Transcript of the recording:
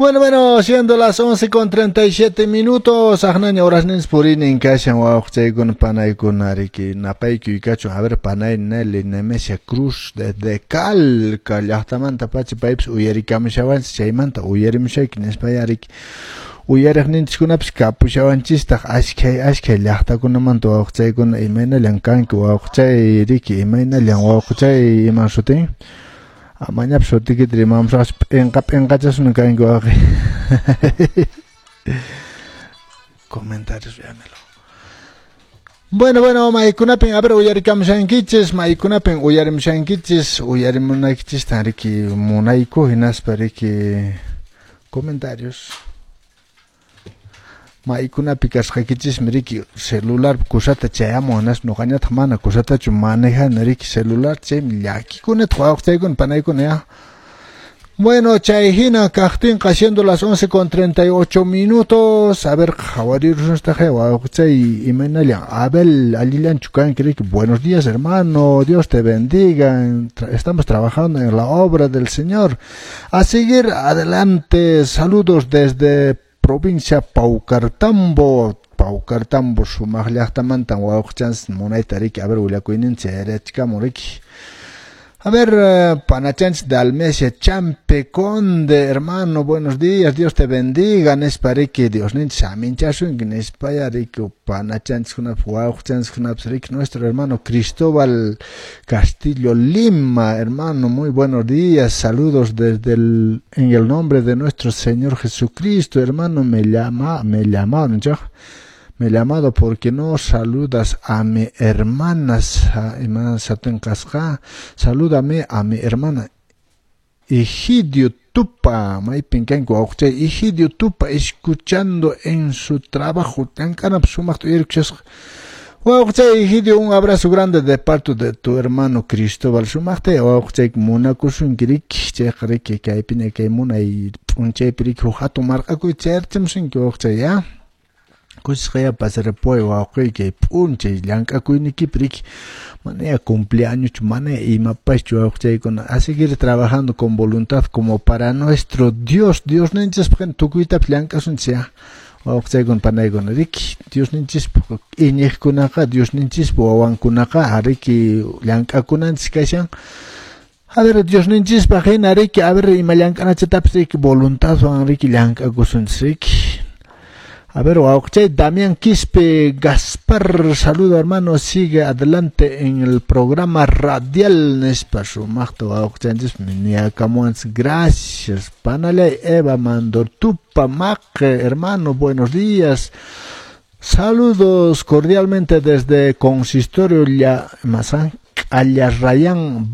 Bueno, siendo las 11:37, aqnaña horasninchis purinin kashan, wawqichaykuna, panaykuna, riki, napaykuy kachun. A ver, panay Nelly Nemesia Cruz desde Calca llaqtamanta pacha paypis uyarikamushawanchis, chaymanta uyarimushayki nispaya, riki, uyariqninchiskunapis kapushawanchistaq ashkhay ashkhay llaqtakunamanta. Wawqichaykuna, imaynallan kanki, wawqichay, riki? Imaynallan, wawqichay? Iman sutin? Amañapas sutikita rimamusaqchu, p'inqa p'inqachasuna kanki, wawqi. Comentarios, véamelo. Bueno, maykunapin, a ver, uyarikamushankichis, maykunapin uyarimushankichis, uyarimunaykichistan, riki, munayku, hinaspa, riki, comentarios. Maykunapi kasqaykichismi, riki, celular kusata chayamun, hinaspa ñuqañataq mana kusatachu manejani, riki, celular, chaymi llakikunataq, wawqichaykuna, panaykuna, ya. Bueno, chay hina kaqtinqa, siendo las 11:38 minutos, a ver, qhawarirusnastaq, wawqichay, imaynallan, Abel, allillanchu kanki, riki? Buenos días, hermano, Dios te bendiga, estamos trabajando en la obra del Señor. A seguir adelante, saludos desde provincia Paucartambo, Paucartambo sumaq llaqtamantan wawqichanchis munayta, riki, a ver, willakuyninchik chayrachikamun, riki. A ver, panachanchis Dalmesia Champe Conde, hermano, buenos días, Dios te bendiga, nispa, riki, Diosninchis aminchasunki nispaya, riki, panachanchis wawqichanchis, riki. Nuestro hermano Cristóbal Castillo Lima, hermano, muy buenos días, saludos en el nombre de nuestro Señor Jesucristo, hermano, me llama, ¿no? Me he llamado porque no saludas a mi hermana, salúdame a mi hermana Egidio Tupa, maypin kanki, wawqichay Egidio Tupa, escuchando en su trabajo, llank'anapi sumaqta uyarikushasqa. Wawqichay Egidio, un abrazo grande de parte de tu hermano Cristóbal. Sumaqta wawqichayki munakusunki, riki, chayqa, riki, kaypiña kay munay p'unchaypi, riki, huk hatun marq'akuy chayarchimusunki, wawqichay, ya. Kusisqaya pasarapuway, wawqiy, kay p'unchay llank'akuynikipi, riki, manaya cumpleañoschu, manaya imapaschu, wawqichaykuna, a seguir trabajando con voluntad como para nuestro Dios. Diosninchispaq tukuytapas llank'asunchis, ya, wawqichaykuna, panaykuna, riki. Diosninchispaq iñiqkunaqa, Diosninchispa wawankunaqa, riki, llank'akunanchis kashan. A ver, Diosninchispaq hina, riki, a ver, ima llank'anachatapas, riki, voluntadwan, riki, llank'akusunchis, riki. A ver, wawqichay Damián Quispe Gaspar, saludo, hermano, sigue adelante en el programa radial, nispa sumaqta wawqichanchis niyakamuwanchis, gracias. Panalay Eva Mandortupa Maque, hermano, buenos días. Saludos cordialmente desde Consistorio Mazán, Allarrayán.